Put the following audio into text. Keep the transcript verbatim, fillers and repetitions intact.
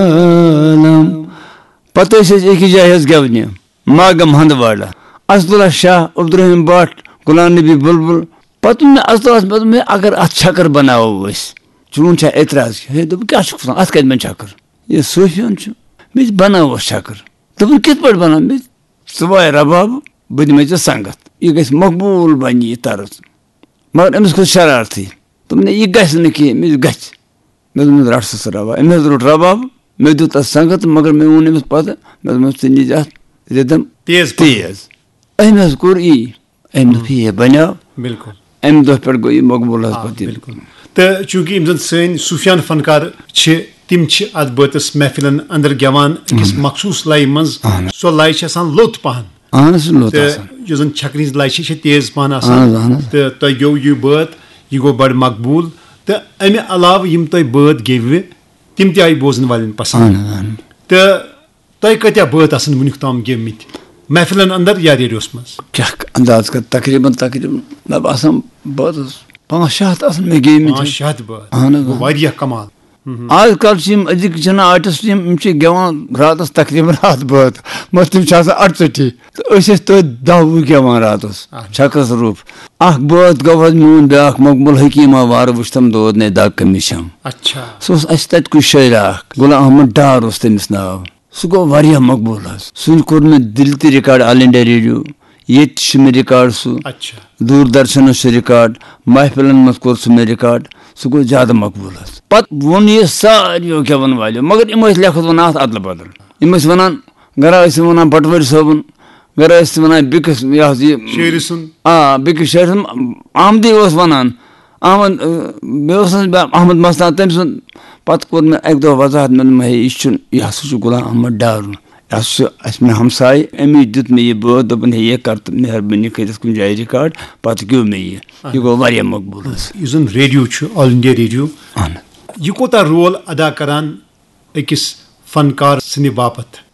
عالم۔ پتہٕ ٲسۍ أسۍ أکِس جایہِ حظ گٮ۪ونہِ، ماگم ہندواڑہ۔ اسدُلہ شاہ، عبدالرحیم بٹ، غلام نبی بلبل۔ پتہٕ ووٚن مےٚ اسدُلہس، مےٚ دوٚپ، "ہے، اگر اتھ چھکر بناوو أسۍ، چون چھا اعتراض؟" ہے، دوٚپُن، "کیٛاہ چھُکھ وَنان؟ اتھ کتہِ بنہِ چھکر؟ یہِ صوفیُن چھُ۔ مےٚ تہِ بناوس چھکر۔" دوٚپُن، "کِتھ پٲٹھۍ بناو؟" مےٚ دوٚپ، "ژٕ واے رباب، بہٕ دِمے ژےٚ سنگت۔ یہِ گژھِ مقبوٗل بنہِ یہِ طرز۔" مگر أمِس کھوٚت شرارتھٕے۔ دوٚپُن، "ہے، یہِ گژھِ نہٕ کینٛہہ۔" مےٚ دوٚپ، "گژھِ۔" مےٚ دوٚپمَس، "رَٹ سا ژٕ رَباب۔" أمۍ حظ روٚٹ رَباب، مےٚ دیُت اَتھ سنٛگت، مگر مےٚ ووٚن أمِس پَتہٕ، مےٚ دوٚپمَس، "ژٕ نِج اَتھ رِدم تیز پَہَم۔ تیز۔" أمۍ حظ کوٚر یی، أمۍ دوٚپ، "ہے، بَنیو۔" بِلکُل۔ اَمہِ دۄہ پٮ۪ٹھ گوٚو یہِ مقبوٗل حظ آ، پَتہٕ یہِ۔ بِلکُل۔ تہٕ چوٗنٛکہِ یِم زَن سٲنۍ صوٗفیان فنکار چھِ، تِم چھِ اَتھ بٲتَس محفِلَن اَندَر گٮ۪وان أکِس مخصوٗص لَیہِ منٛز۔ اَہَن حظ۔ سۄ لَے چھِ آسان لوٚت پَہَن۔ اَہَن حظ، لوٚت تہٕ آسان۔ یُس زَن چھَکرِ ہِنٛز لَے چھِ، یہِ چھِ تیز پَہَن آسان۔ اَہَن حظ، اَہَن حظ۔ تہٕ تۄہہِ گیوٚو یہِ بٲتھ، یہِ گوٚو بَڑٕ مقبوٗل۔ تہٕ اَمہِ علاوٕ یِم تۄہہِ بٲتھ گیٚوِ، تِم تہِ آیہِ بوزن والٮ۪ن پسنٛد۔ اہن حظ، اہن حظ۔ تہٕ تۄہہِ کۭتیاہ بٲتھ آسن وُنیُک تام گیٚومٕتۍ محفلن اندر یا ریڈیوس منٛز؟ کیٛاہ انداز کر، تقریباً، تقریباً، مےٚ باسان، بٲتس پانٛژھ شےٚ ہتھ آسن مےٚ گیٚومٕتۍ۔ پانٛژھ شےٚ ہتھ بٲتھ۔ اہن حظ، گوٚو اہن۔ واریاہ کمال۔ آز کل چھِ یِم أزِکۍ چھِنہٕ آرٹسٹ، یِم، یِم چھِ گٮ۪وان راتس تقریباً ہتھ بٲتھ، مگر تِم چھِ آسان اَرژَتجی۔ تہٕ أسۍ ٲسۍ تٔتھۍ دَہ وُہ گٮ۪وان راتس، اہن۔ چھکرس روٚف۔ اکھ بٲتھ گوٚو حظ میون بیٛاکھ مقبول حکیٖم آوارٕ وٕچھتم دود نے دگ کٔمِس چھم۔ اچھا۔ سُہ اوس اَسہِ تَتہِ کُے شٲعرا اکھ، غلام احمد ڈار اوس تٔمِس ناو۔ سُہ گوٚو واریاہ مقبول حظ۔ سُہ کوٚر مےٚ دِلہِ تہِ ریکارڈ آل انڈیا ریڈیو، ییٚتہِ تہِ چھُ مےٚ ریکارڈ سُہ۔ اچھا۔ دوٗردرشنس چھُ ریکارڈ، محفلن منٛز کوٚر سُہ مےٚ ریکارڈ، سُہ گوٚو زیادٕ مقبول حظ۔ پتہٕ ووٚن یہِ ساروِیو گٮ۪ون والیو، مگر یِم ٲسۍ لیکھتھ وَنان اَتھ ادلہٕ بدل۔ یِم ٲسۍ وَنان، گرا ٲسۍ وَنان پٹوٲرۍ صٲبُن، گرا ٲسۍ وَنان بیٚکِس، یہِ حظ یہِ شٲعرٕ سُنٛد۔ آ، بیٚکِس شٲعرٕ سُنٛد۔ احمدی اوس وَنان، احمد، اَ، مےٚ اوس نہٕ بے-، احمد مستان، تٔمۍ سُنٛد۔ پَتہٕ کوٚر مےٚ اَکہِ دۄہ وضاحت، مےٚ دوٚپ، "ہے، یہِ چھُنہٕ، یہِ ہسا چھُ غلام احمد ڈارُن، یہِ ہسا چھُ اَسہِ مےٚ ہمساے، أمی دیُت مےٚ یہِ بٲتھ، دوٚپُن، ہے، یہِ کر تہٕ مہربٲنی کٔرِتھ کُنہِ جایہِ ریکارڈ۔" پَتہٕ گیوٚو مےٚ یہِ، یہِ گوٚو واریاہ مقبوٗل حظ۔ یُس زَن ریڈیو چھُ، آل انڈیا ریڈیو، اہن۔ یہِ کوٗتاہ رول ادا کران أکِس فنکار سٕنٛدِ باپتھ؟